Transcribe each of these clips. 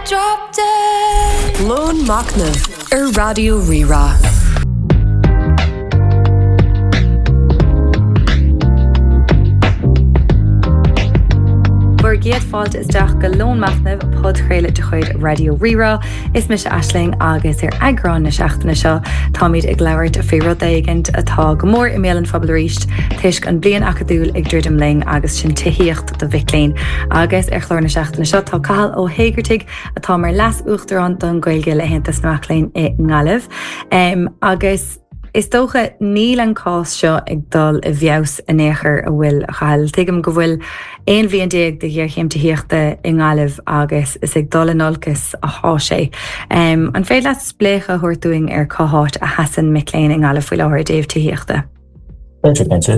Drop dead. Lón Machnaimh ar Raidió Rí-Rá. Bhur gcéad fáilte isteach go Lón Machnaimh, podchraoladh de chuid Raidió Rí-Rá. Is mise Aisling agus ar eagrán na seachtaine seo táimid ag labhairt faoi rud éigint atá go mór i mbéal an phobail arís toisc an bliain acadúil ag druidim linn agus sin tithíocht do mhic léinn. Agus ar chlár na seachtaine seo tá Cathal Ó hÉigeartaigh atá mar Leas-Uachtarán don Ghaeilge le hAontas na Mac Léinn i nGaillimh. Agus is dócha níl an cás seo ag dul i bhfeabhas in aon chor an bhfuil a Chathail. Tuigim go bhfuil 11 bhliain de ghéarchéim tithíochta i nGaillimh agus is ag dul in olcas atá sé. An féidir leat spléachadh a thabhairt dúinn ar cá háit a sheasann mic léinn i nGaillimh faoi láthair i dtaobh tithíochta? Cinnte, cinnte.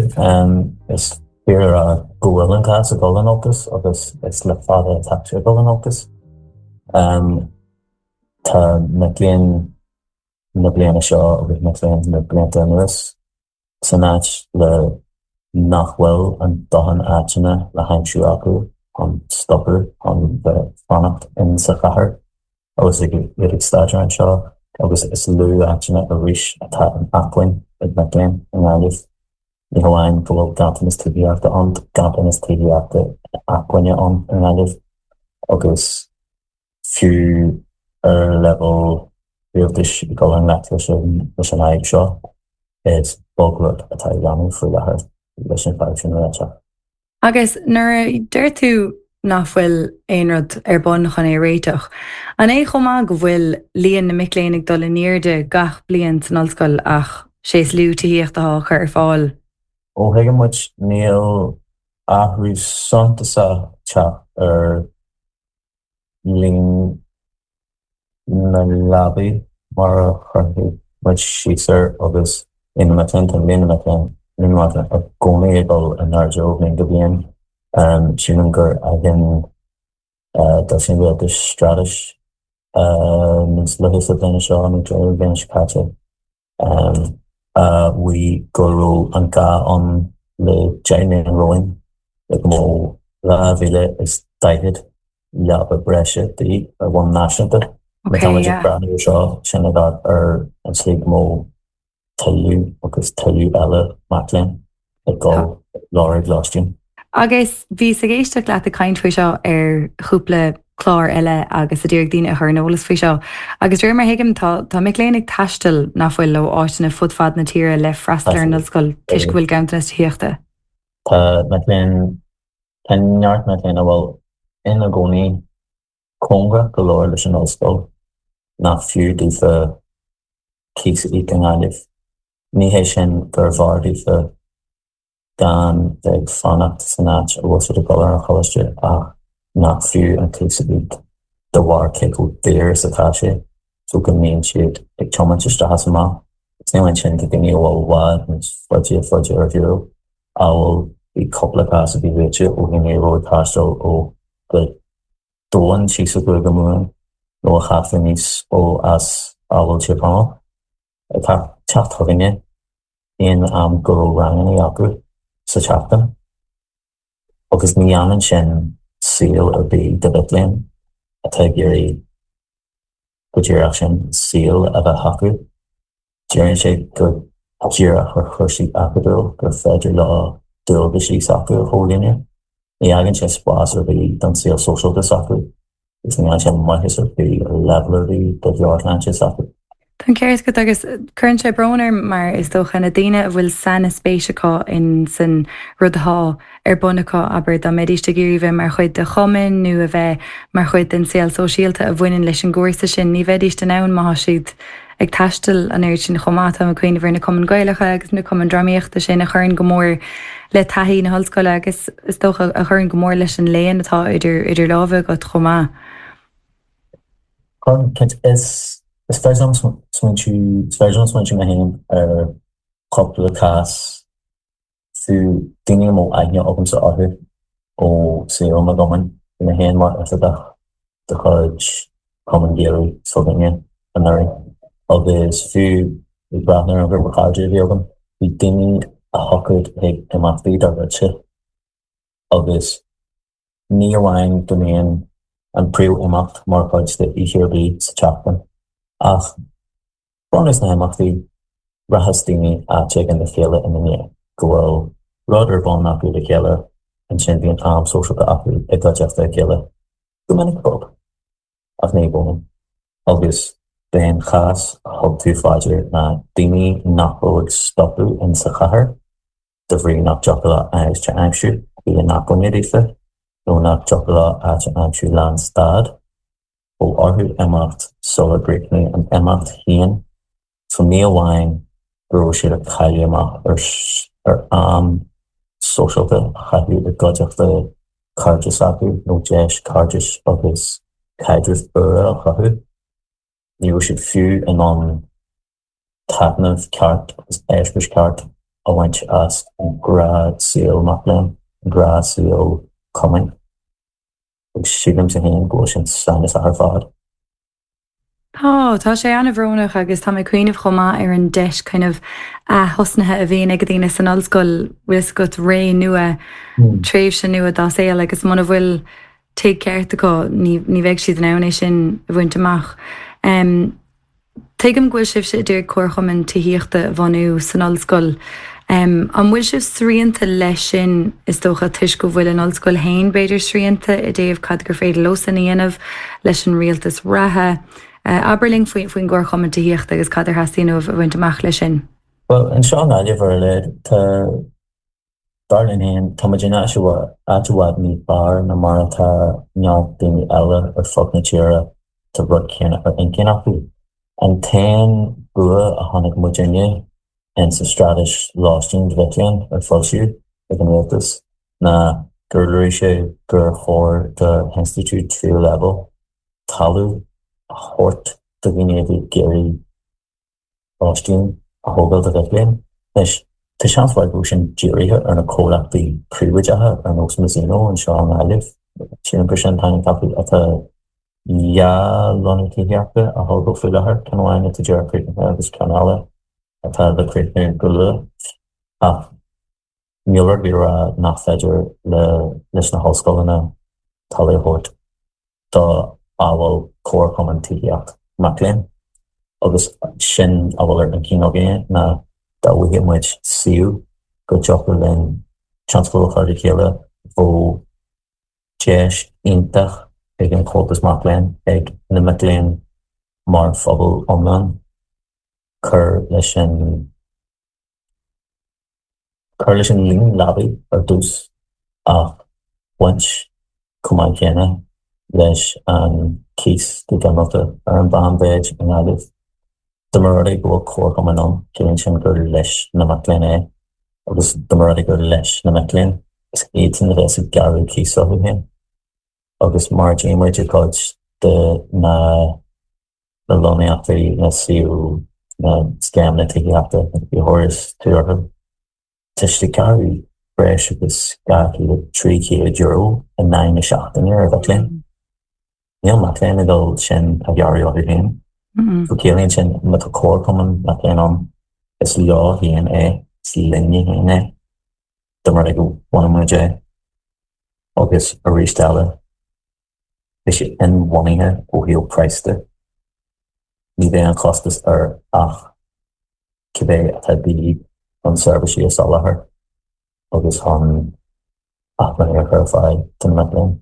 Is fíor a rá go bhfuil an cás ag dul in olcas agus is le fada atá sé ag dul in olcas. Tá mic léinn na bliana seo agus mic léinn na blianta anuas san áit le nach bhfuil a ndóthain áiteanna le haimsiú acu chun stopadh, chun bheith fanacht in sa chathair agus iad ag staidéar anseo agus is lú áiteanna arís atá in acmhainn ag mic léinn i nGaillimh. Ní hamháin go bhfuil ganntanas tithíochta ann, tá ganntanas tithíochta acmhainne ann i nGaillimh agus fiú ar leibhéal rialtais ag dul i ngleic leis an fhadhb seo, is beag rud atá á dhéanamh faoi láthair leis an bhfadhb sin a réiteach. Agus nuair a deir tú nach bhfuil aon rud ar bun chun é a réiteach, an é chomh maith go bhfuil líon na mic léinn ag dul in airde gach bliain san ollscoil ach sé is lú tithíocht atá á cur ar fáil? Ó thuigeann muid, níl athrú suntasach ag teacht ar líon na leabaí mar a chuirfidh muid síos air agus líon na mic léinn, tá líon na mic léinn, líon na mic léinn i gcónaí ag dul in airde ó bhliain go bliain. Sílim gur fhaigheann d'fhoilsigh an rialtas straitéis níos luaithe sa bhliain seo nó deireadh na bliana seo caite. a mhaígh go raibh an gá ann le 10 mbliana romhainn le go mbeadh 2,040 leaba breise de dhíth ar bhonn náisiúnta. Má tá muid ag breathnú air seo, sin ag amharc ar an tslí go mbeadh tuilleadh agus tuilleadh eile mac léinn ag dul ag lorg lóistín. Agus bhíos ag éisteacht leat ag caint faoi seo ar chúpla clár eile agus ag iarraidh daoine a chur ar an eolas faoi seo. Agus de réir mar a thuigim, tá tá mic léinn ag taisteal, nach bhfuil, ó áiteanna fud fad na tíre le freastal ar an ollscoil toisc go bhfuil ganntanas tithíochta. Tá mic léinn, tá neart mic léinn a bhfuil ina gcónaí cóngarach go leor leis an ollscoil nach fiú daofa cíos a íoc i nGaillimh. Ní hé sin gur bhfearr daofa gan bheith ag fanacht san áit a bhfuil siad ag dul ar an choláiste ach nach fiú an cíos a íoc de bharr cé chomh daor is atá sé so go mbíonn siad ag tiomáint isteach is amach. Agus ní amháin sin, tá daoine a bhfuil i bhfad níos faide faide ar shiúl, amhail bhí cúpla cás a bhí luaite ó dhaoine a raibh ag taisteal ó Ghaoth Dobhair síos i gCúige Mumhan nó a theacht aníos ó as amhail Tír Chonaill ag teacht chugainne. aon am go raibh ranganna acu sa tseachtain agus ní dhéanann sin saol ar bith do mhic léinn atá ag iarraidh go díreach sin, saol a bheith acu. Díríonn sé go díreach ar chúrsaí acadúil gur féidir leo dualgaisí s'acu a chomhlíonadh. Ní fhágann sé spás ar bith don saol sóisialta s'acu agus ní dhéanann sé maitheas ar bith ar leibhéal ar bith do mheabhairshláinte s'acu. Tá an ceart agat agus cuireann sé brón orm mar is dócha na daoine a bhfuil sainspéis acu in san rud atá ar bun acu, abair, dá mbeidíst ag iarraidh bheith mar chuid de chumann nó a bheith mar chuid den saol sóisialta a bhaineann leis an gcúrsa sin, ní bheidíst in ann má tá siad ag taisteal an oiread sin chomh maith. Táim ag cuimhneamh ar na cumainn Gaelacha agus na cumainn drámaíochta sin a chuireann go mór le taithí na hollscoile agus is dócha a chuireann go mór leis an léann atá idir idir lámha agat chomh maith. Cuireann, cinnte. Is is féidir liom smaointiú, is féidir liom smaointiú mé féin ar chúpla cás fiú daoine a mbeadh aithne agamsa orthu ó saol na gcumann. Bhí mé féin mar oifigeach de chuid Cumann Gaelach s'againne anuraidh agus fiú ag breathnú ar an ghrúpa cairde a bhí agam, bhí daoine a thiocfadh chuig imeachtaí dár gcuidse agus ní amháin go mbíonn. an príomh-imeacht mar chuid de oíche ar bith sa tseachtain. Ach bunús na himeachtaí, rachas daoine áit éigin le chéile ina ndiaidh, go bhfuil rud ar bun acu le chéile, ansin bíonn am sóisialta acu i gcuideachta a chéile, go minic pub, ach ní i gcónaí. Agus b'é an chás a thug tú fá dear ná daoine nach raibh ag stopadh in sa chathair, de bhrí nach dtiocfadh leo áit a aimsiú a bhí in acmhainn daofa, nó nach dtiocfadh leo áit a aimsiú lán stad, bheadh orthu imeacht sular gcríochnaigh an imeacht féin, so ní amháin go raibh siad ag cailleadh amach ar am sóisialta a chaitheamh i gcuideachta cairde s'acu nó deis cairdis agus caidrimh úra a chruthú, ní raibh siad fiú in ann taitneamh ceart agus eispéireas ceart a bhaint as an ngnáthshaol mac léinn, an gnáthshaol cumainn. Agus sílimse féin go bhfuil sin samhnasach ar fad. Tá, tá sé an-bhrónach agus tá mé ag cuimhneamh chomh maith ar an deis kind of ath-thosnaithe a bhíonn ag daoine san ollscoil, bhfuil fhios agat, ré nua, tréimhse nua dá saol agus muna bhfuil tigh ceart acu ní ní bheidh siad in ann é sin a bhaint amach. Tuigim go bhfuil sibhse ag iarraidh comharchumann tithíochta a bhunú san ollscoil. An bhfuil sibh srianta leis sin, is dócha, toisc go bhfuil an ollscoil féin, b'fhéidir, srianta i dtaobh cad gur féidir leosan a dhéanamh leis an rialtas reatha? Abair linn faoin gcomharchumann tithíochta agus cad ar theastaíonn uaibh a bhaint amach leis sin. Bhuel, anseo i nGaillimh, ar a laghad, tá. Dar linn féin, tá muid in áit i bhfad níos fearr ná mar atá neart daoine eile ar fud na tíre tá rud céanna ar intinn acu. An t-aon bua a chonaic muidinne in sa Straitéis Lóistín do Mhic Léinn ar foilsíodh ag an Rialtas ná gur luaigh sé gur chóir do hinstitiúid tríú leibhéal talamh a thabhairt do dhaoine a bhí ag iarraidh lóistín a thógáil do mhic léinn. Anois, tá seans mhaith go bhfuil sin dírithe ar na comhlachtaí príobháideacha ar nós Mazzino anseo i nGaillimh, sílim gur sin an t-ainm atá acu, atá 2 lonnú tithíochta á thógáil faoi láthair, ceann amháin atá díreach críochnaithe agus ceann eile atá le críochnú go luath. Ach níl rud ar bith ag rá nach féidir leis na hollscoileanna talamh a thabhairt do amhail comharchumann tithíocht mac léinn agus sin a bhfuil ar intinn againne ná dá bhfaigheadh muid suíomh go dtiocfadh linn tionscadal a chur le chéile bheadh deis iontach ag an Chomhaltas Mac Léinn, ag na mic léinn mar phobal iomlán cur leis an Cur leis an líon leabaí ar dtús ach baint chomh maith céanna leis an cíos go ginearálta ar an mheánmhéid i nGaillimh. Dá mba rud é go bhfuil comharchumann ann, ciallaíonn sin gur leis na mic léinn é agus dá mba rud é gur leis na mic léinn, is iadsan a bheas ag gearradh cíos orthu féin. Agus mar a dtí muid i gcuid de na na lonnaíochtaí, na suíomh, na scéimeanna tithíochta, a thabharfas tú orthu. Tá siad ag gearradh breis agus €200, €300 in aghaidh na seachtaine ar mhic léinn. Níl mac léinn ag dul sin a ghearradh orthu féin. So ciallaíonn sin má tá comharchumann mac léinn ann, is leo féin é, is linne féin é, dá mba rud é go mbaineann muid é. Agus arís eile, Beidh sé inbhuanaithe ó thaobh praghas de. Ní bheidh an costas air ach cibé atá de dhíth chun seirbhísí a soláthar agus chun acmhainní a chur ar fáil do na mic léinn.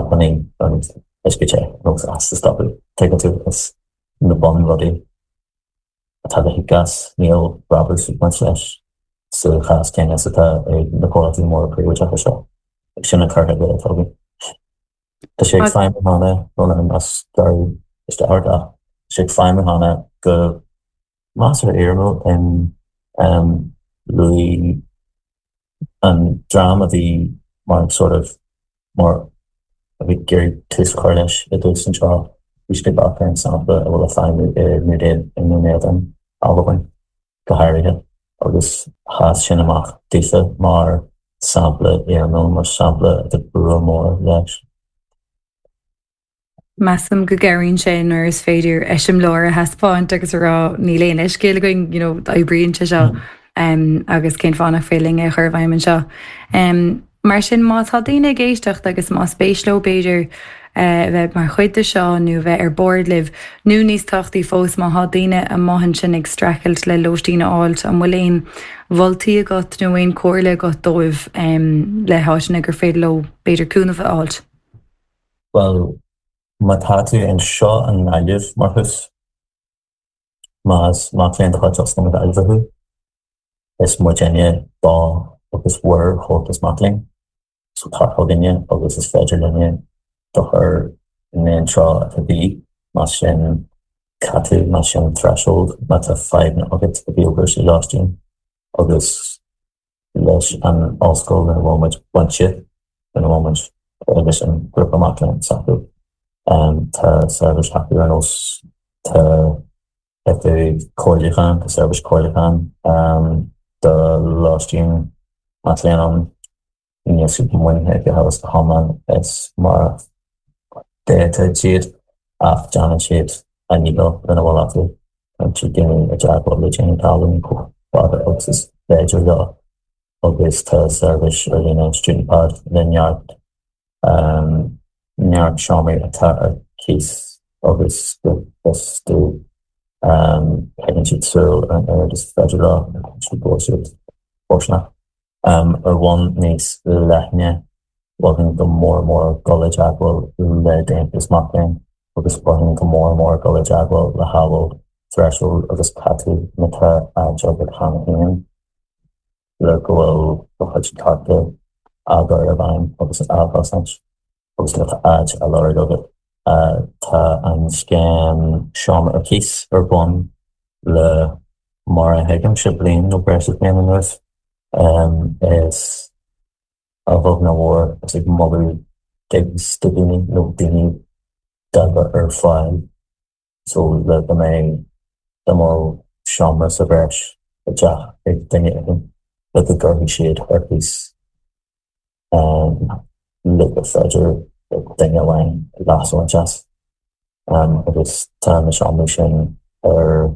Acmhainní an uisce te nó as a stopadh, tuigeann tú, is na bunrudaí atá le híoc as, níl brabús ag baint leis sa chás céanna is atá ag na comhlachtaí móra príobháideacha seo. Sin an cur chuige atá againn. Tá sé ag feidhmiú cheana, brón orm as gearradh isteach ort ach tá sé ag feidhmiú cheana go measartha éirimiúil in luaigh an dream a bhí mar sort of mar a bhí ag iarraidh tús a chur leis i dtús anseo, bhí siad ag amharc ar an sampla a bhfuil ag feidhmiú i nDún Éideann, Albain, go háirithe, agus sheas sin amach daofa mar sampla éirimiúil, mar sampla atá bua mór leis. Measaim go gcabhraíonn sé nuair is féidir eiseamláir a thaispeáint agus a rá níl aon leithscéal againn, you know, oibríonn sé seo agus cén fáth nach féidir linn é a chur i bhfeidhm anseo. Mar sin má tá daoine ag éisteacht agus más spéis leo b'fhéidir. bheith mar chuid de seo nó bheith ar bord libh, nó níos tábhachtaí fós, má thá daoine amuigh ansin ag streachailt le lóistín a fháilt, an bhfuil aon mholtaí agat nó aon comhairle agat dóibh le háiteanna gur féidir leo b'fhéidir cúnamh a fháilt? Bhuel, má tá tú anseo i nGaillimh mar thús, más mac léinn de chuid Ollscoil na Gaillimhe thú, is muidinne do agus bhur Chomhaltas Mac Léinn. So tar chugainne agus is féidir linne do chur in aon treo atá de dhíth, más sin CATU, más sin Threshold, má tá fadhbanna agat i dtaobh cúrsaí lóistín agus leis an ollscoil lena bhfuil muid bainte, lena bhfuil muid leis an ghrúpa mac léinn s'acu. Tá seirbhís acu ar nós tá oifig comhairliúcháin, tá seirbhís comhairliúcháin do lóistín mac léinn ann. Níl siad maoinithe go huile is go hiomlán is mar a d'fhéadfadh siad ach déanann siad a ndícheall lena bhfuil acu. Cuireann siad daoine i dteagmháil le daoine talún chomh fada agus is féidir leo agus tá seirbhís ar líne Student Pad le neart neart seomraí atá ar cíos agus go bhfios domh coinníonn siad súil ar an oiread is féidir leo agus go bhfuil siad fóirsteanach. Ar bhonn níos leithne, mholfainn go mór mór dul i dteagmháil le d'Aontas Mac Léinn agus mholfainn go mór mór dul i dteagmháil le hAbhall, Threshold agus CATU má tá áit agat cheana féin le go bhfuil do chuid cearta á gcur i bhfeidhm agus á gcosaint agus má tá áit á lorg agat. Tá an scéim Seomra ar Cíos ar bun le mar a thuigimse bliain nó breis is bliain anuas. Is a bheag nó a mhór is ag moladh digs do dhaoine nó daoine dá gcur ar fáil so le go mbeidh dá mbeadh seomra sa bhreis i dteach ag duine éigin le go gcuirfidh siad ar cíos le gur féidir le duine amháin leas a bhaint as agus tá na seomraí sin ar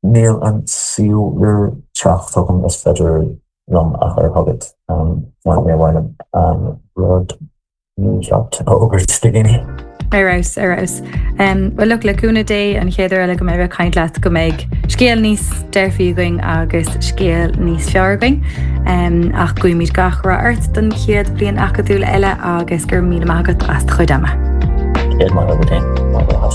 Níl an suíomh le teacht chugam, is féidir liom a chur chugat mar níor mhaith liom an rud mícheart a fhógairt do dhaoine. Ar fheabhas, ar fheabhas. Bhuel look, le cúnamh Dé an chéad uair eile go mbeidh mé ag caint leat go mbeidh scéal níos dearfaí againn agus scéal níos fearr againn. Ach guímid gach rath ort don chéad bhliain acadúil eile agus go raibh míle maith agat as do chuid ama. Céad maith agat féin.